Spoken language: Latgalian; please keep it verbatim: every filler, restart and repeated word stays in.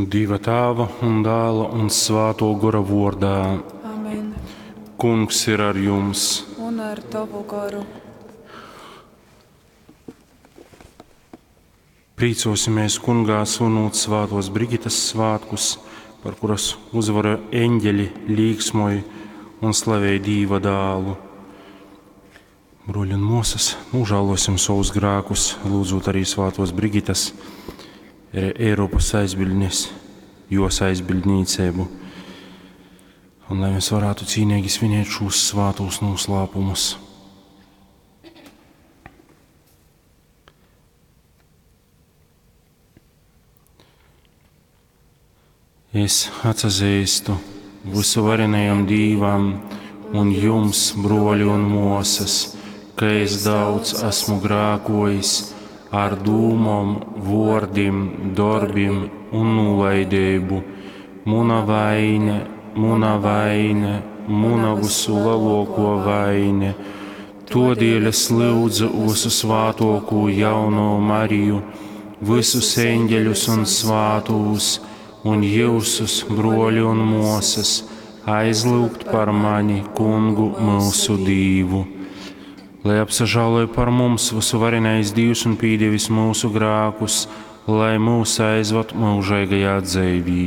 Dieva Tēva un Dēla un Svēto Gora vordā. Amen. Kungs ir ar jums. Un ar tavu goru. Priecosimies kungā svinot svētos Brigitas svētkus, par kuras uzvaru eņģeļi līksmoja un slavēja Dīva dēlu. Broļi un māsas, nožēlosim savus grēkus, lūdzot arī svētos Brigitas, Eiropas aizbildnis, jos aizbildnīcību, un lai mēs varētu cīnīgi svinēt šos svētos noslēpumus. Es atzīstu visuvarenajam Dīvam un jums, broļi un māsas, ka es daudz esmu grēkojis ar dūmom, vōrdim, darbim un nolaidību. Muna vaine, muna vaine, muna visu lielāko vaine. Todēļ es lūdzu visu svātoko jauno Mariju, visus eņģeļus un svātūs, un jūsus, broļi un māsas, aizlūgt par mani, kungu mūsu Dīvu. Lai apsažāloja par mums visuvarenais Dievs un pīdevis mūsu grēkus, lai mūs aizvad mūžīgajā dzīvī.